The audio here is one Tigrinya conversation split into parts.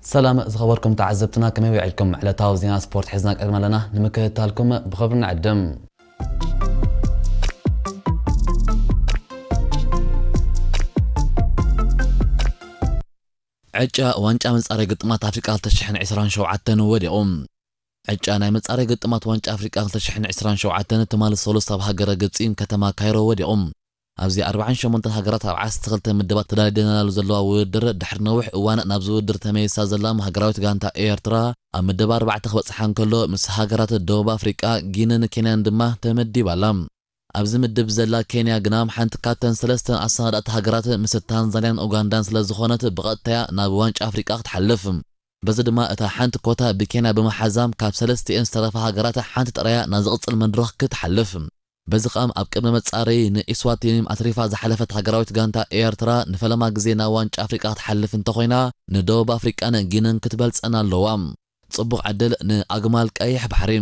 ሰላም ዝኸበርኩም ተዓዘብትና፣ ከመይ ውዒልኩም? ዕለታዊ ዜና ስፖርት ሒዝና ቀሪብና ኣለና፣ ንምክትታልኩም ብኽብሪ ንዕድም። ዕጫ ዋንጫ መጻረይ ግጥማት ኣፍሪቃ ክልተ ሽሕን ዕስራን ሸውዓተን ወዲቑ። ዕጫ ናይ መጻረይ ግጥማት ዋንጫ ኣፍሪቃ ክልተ ሽሕን ዕስራን ሸውዓተን ትማሊ ሰሉስ ኣብ ሃገረ ግብጺ ከተማ ካይሮ ወዲቑ። ኣብዚ ኣርባዓን ሸሞንተን ሃገራት ኣብ ዓሰርተ ክልተ ምድባት ተዳሊደናሉ ዘለዋ ውድድር፣ ድሕሪ ነዊሕ እዋን ናብዚ ውድድር ተመይሳ ዘላ ሃገራዊት ጋንታ ኤርትራ፣ ኣብ ምድብ ኣርባዕተ ክበጽሓ እንከሎ፣ ምስ ሃገራት ደቡብ ኣፍሪቃ፣ ጊንን ኬንያን ድማ ተመዲባ ኣላ። ኣብዚ ምድብ ዘላ ኬንያ ግና ሓንቲ ካብተን ሰለስተን ኣሰናዳእቲ ሃገራት ምስ ታንዛንያን ኡጋንዳን ስለ ዝኾነት፣ ብቐጥታያ ናብ ዋንጫ ኣፍሪቃ ክትሓልፍ። በዚ ድማ እታ ሓንቲ ኮታ ብኬንያ ብምሓዛም፣ ካብ ሰለስቲኤን ዝተረፋ ሃገራት ሓንቲ ጥራያ ናብ ዝቕጽል መድረኽ ክትሓልፍ። በዚ ኸኣ ኣብ ቅድመ መጻረዪ ንኢስዋቲኒ ኣትሪፋ ዝሓለፈት ሃገራዊት ጋንታ ኤርትራ ንፈለማ ግዜ ናብ ዋንጫ ኣፍሪቃ ክትሓልፍ እንተኾይና፣ ንደቡብ ኣፍሪቃን ጊንን ክትበልጸን ኣለዋ። ጽቡቕ ዕድል ንኣግማል ቀይሕ ባሕሪ።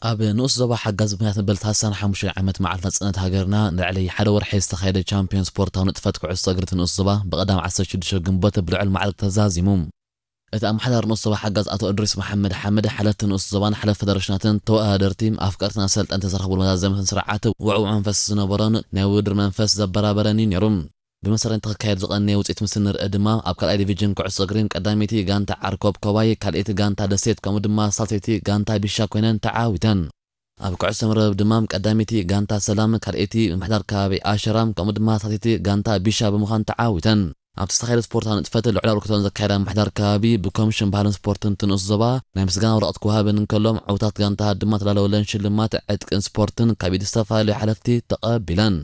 ኣብ ንኡስ ዞባ ሓጋዝ ምኽንያት መበል ሰላሳን ሓሙሽተን ዓመት መዓልቲ ናጽነት ሃገርና ንልዕሊ ሓደ ወርሒ ዝተኻየደ ቻምፒዮን ስፖርታዊ ንጥፈት ኩዕሶ እግሪ እቲ ንኡስ ዞባ ብቐዳም ዓሰርተ ሽዱሽተ ግንቦት ብልዑል ማዕርግ ተዛዚሙ። እቲ ኣመሓዳሪ ንኡስ ዞባ ሓጋዝ ኣቶ እድሪስ መሓመድ ሓመድ፣ ሓለፍቲ ንኡስ ዞባን ሓለፍቲ ፌደሬሽናትን ተወዳደርቲ፣ ኣፍቀርትን ኣሰልጠንቲ ዝተረኽብሉ መዛዘሚ ስነ ስርዓት ውዕዉዕ መንፈስ ዝነበሮን ናይ ውድድር መንፈስ ዘበራበረን እዩ ነይሩ። ብመሰረት እቲ ክካየድ ዝቐነየ ውፅኢት ምስ እንርኢ ድማ፣ ኣብ ካልኣይ ዲቪዥን ኩዕሶ እግሪ ቀዳመይቲ ጋንታ ዓርኮብ ኮባይ፣ ካልኣይቲ ጋንታ ደሴት ከምኡ ድማ ሳልሰይቲ ጋንታ ቢሻ ኮይነን ተዓዊተን። ኣብ ኩዕሶ መርበብ ድማ ቀዳመይቲ ጋንታ ሰላም፣ ካልኣይቲ ምምሕዳር ከባቢ ኣሸራ ከምኡ ድማ ሳልሰይቲ ጋንታ ቢሻ ብምዃን ተዓዊተን። ኣብቲ ዝተኻየደ ስፖርታዊ ንጥፈት ልዑል ኣበርክቶን ዘካየዳ ምምሕዳር ከባቢ፣ ብኮሚሽን ባህልን ስፖርትን እቲ ንኡስ ዞባ ናይ ምስጋና ወረቐት ክወሃበን እንከሎ፣ ዕውታት ጋንታ ድማ ተዳለወለን ሽልማት ዕጥቅን ስፖርትን ካብ ኢድ ዝተፈላለዩ ሓለፍቲ ተቐቢለን።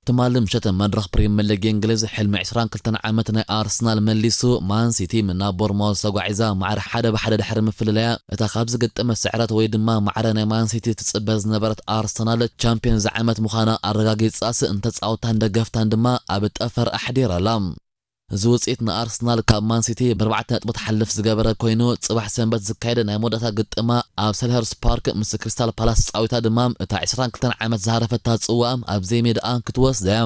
ትማሊ ምሸት መድረኽ ፕሪምየር ሊግ እንግሊዝ፣ ሕልሚ ዕስራን ክልተን ዓመት ናይ ኣርሰናል መሊሱ፣ ማን ሲቲ ናብ ቦርማውዝ ተጓዒዛ ማዕረ ሓደ ብሓደ ድሕሪ ምፍልላያ፣ እታ ካብ ዝግጥም ስዕረት ወይ ድማ ማዕረ ናይ ማን ሲቲ ትጽበ ዝነበረት ኣርሰናል፣ ቻምፒዮን እዚ ዓመት ምዃና ኣረጋጊጻስ፣ ንተጻወትታን ደገፍታን ድማ ኣብ ጠፈር ኣሕዲራላ። እዚ ውጽኢት ንኣርሰናል ካብ ማን ሲቲ ብኣርባዕተ ነጥቢ ትሓልፍ ዝገበረ ኮይኑ፣ ጽባሕ ሰንበት ዝካየድ ናይ መወዳእታ ግጥማ ኣብ ሰልኸርስት ፓርክ ምስ ክሪስታል ፓላስ ተጻዊታ ድማ፣ እታ ዕስራን ክልተን ዓመት ዝሃረፈታ ጽዋኣ ኣብ ዘይሜዳኣ ክትወስዳ እያ።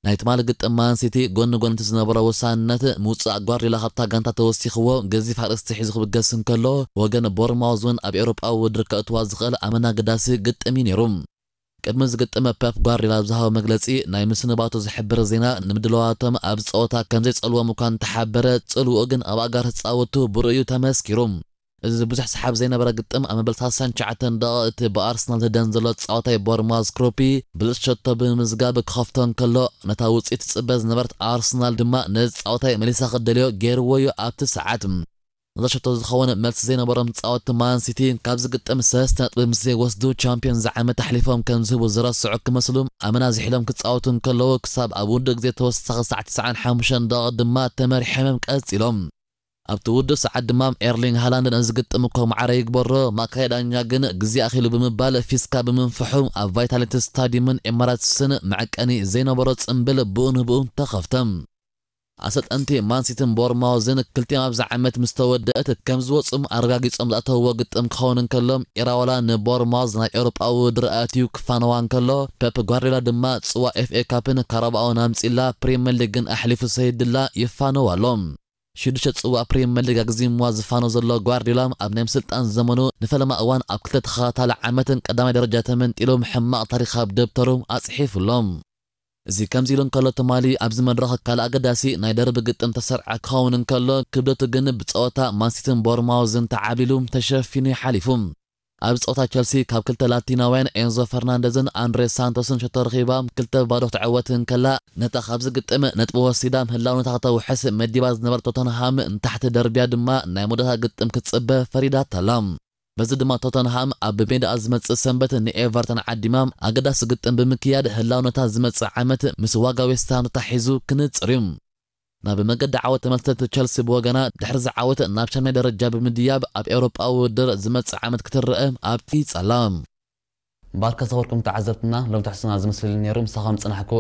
ናይ ትማሊ ግጥም ማን ሲቲ ጎኒ ጎኒ እቲ ዝነበሮ ወሳንነት፣ ምውጻእ ጓርዲዮላ ካብታ ጋንታ ተወሲኽዎ፣ ገዚፍ ኣርእስቲ ሒዙ ክብገስ እንከሎ፣ ወገን ቦርማውዝ እውን ኣብ ኤውሮጳዊ ውድድር ከእትዋ ዝኽእል ኣመና ኣገዳሲ ግጥም እዩ ነይሩ። ቅድሚ ዝግጥም ፔፕ ጓርዲዮላ ኣብ ዝሃቦ መግለጺ፣ ናይ ምስንባቱ ዝሕብር ዜና ንምድላዋቶም ኣብ ጸወታ ከም ዘይጸልዎም እኳ እንተሓበረ፣ ጽልውኡ ግን ኣብ ኣጋር ተጻወቱ ብርኡዩ ተመስኪሩ። እዚ ብዙሕ ሰሓብ ዘይነበረ ግጥም፣ ኣብ መበል ሰላሳን ትሽዓተን ደቂቕ እቲ ብኣርሰናል ዝደን ዘሎ ተጻዋታይ ቦርማዝ ክሮፒ ብሉጽ ሸቶ ብምምዝጋብ ክኸፍቶ እንከሎ፣ ነታ ውጽኢት ትጽበ ዝነበረት ኣርሰናል ድማ ነዚ ተጻዋታይ መሊሳ ክደልዮ ገይርዎ እዩ ኣብቲ ሰዓት። ነዛ ሸቶ ዝኸውን መልሲ ዘይነበሮም ተጻወትቲ ማን ሲቲ ካብዚ ግጥም ሰለስተ ነጥቢ ምስ ዘይወስዱ ቻምፒዮን ዝዓመት ኣሕሊፎም ከም ዝህቡ ዝረስዑ ክመስሉ ኣመና ዝሒሎም ክጻወቱ እንከለዉ ክሳብ ኣብ ውዱእ ግዜ ተወሳኺ ሰዓት ትስዓን ሓሙሽተን ደቂቕ ድማ ተመሪሖም እዮም ቀጺሎም። ኣብቲ ውዱእ ሰዓት ድማ ኤርሊንግ ሃላንድ ነዚ ግጥም እኮ ማዕረ ይግበሮ፣ ማእከላይ ዳኛ ግን ግዜ ኣኺሉ ብምባል ፊስካ ብምንፍሑ ኣብ ቫይታሊቲ ስታዲየምን ኤማራትስን መዐቀኒ ዘይነበሮ ጽምብል ብኡ ንብኡ ተኸፍተ። ኣሰልጠንቲ ማንሲትን ቦርማውዝን ክልቲኦም ኣብዛ ዓመት ምስ ተወደአት ከም ዝወጹም ኣረጋጊጾም ዝኣተውዎ ግጥም ክኸውን እንከሎ፣ ኢራወላ ንቦርማውዝ ናብ ኤውሮጳዊ ውድድር ኣእትዩ ክፋነዋ እንከሎ፣ ፔፕ ጓርዲዮላ ድማ ጽዋ ኤፍ ኤ ካፕን ካራባኦን ኣምጺላ ፕሪምየር ሊግን ኣሕሊፉ ሰይድላ ይፋነዋ ኣሎ። ሽዱሽተ ጽዋ ፕሪምየር ሊግ ኣግዚምዋ ዝፋኖ ዘሎ ጓርዲዮላ፣ ኣብ ናይ ምስልጣን ዘመኑ ንፈለማ እዋን ኣብ ክልተ ተኸታታሊ ዓመትን ቀዳማይ ደረጃ ተመንጢሉ ሕማቕ ታሪኽ ኣብ ደብተሩ ኣጽሒፉ ኣሎ። እዚ ከምዚ ኢሉ እንከሎ፣ ትማሊ ኣብዚ መድረኽ ካልእ ኣገዳሲ ናይ ደርቢ ግጥም ተሰርዐ ክኸውን እንከሎ፣ ክብደቱ ግን ብጸወታ ማንሲትን ቦርማውዝን ተዓብሊሉ ተሸፊኑ ይሓሊፉ። ኣብ ጸወታ ቸልሲ ካብ ክልተ ላቲናውያን ኤንዞ ፈርናንደዝን ኣንድሬ ሳንቶስን ሸቶ ረኺባ ክልተ ባዶ ክትዕወት እንከላ፣ ነታ ካብዚ ግጥም ነጥቢ ወሲዳ ምህላውነታ ከተውሕስ መዲባ ዝነበረት ቶተንሃም ንታሕቲ ደርብያ ድማ ናይ መወዳእታ ግጥም ክትጽበ ፈሪዳታ ኣላ። በዚ ድማ ቶተንሃም ኣብ ሜዳኣ ዝመጽእ ሰንበት ንኤቨርተን ዓዲማ ኣገዳሲ ግጥም ብምክያድ ህላውነታ ዝመጽእ ዓመት ምስ ዋጋ ዌስትሃም ተታሒዙ ክንጽር እዩ። ናብ መገዲ ዓወት ተመልሰት ቸልሲ ብወገና ድሕሪ ዝዓወት ናብ ሻምናይ ደረጃ ብምድያብ ኣብ ኤውሮጳዊ ውድድር ዝመጽእ ዓመት ክትረአ ኣብቂጻ ኣላ። ባርከ ዝኸበርኩም ተዓዘብትና፣ ሎም ትሕስና ዝመስል ነይሩ። ምሳኹም ጽናሕኩ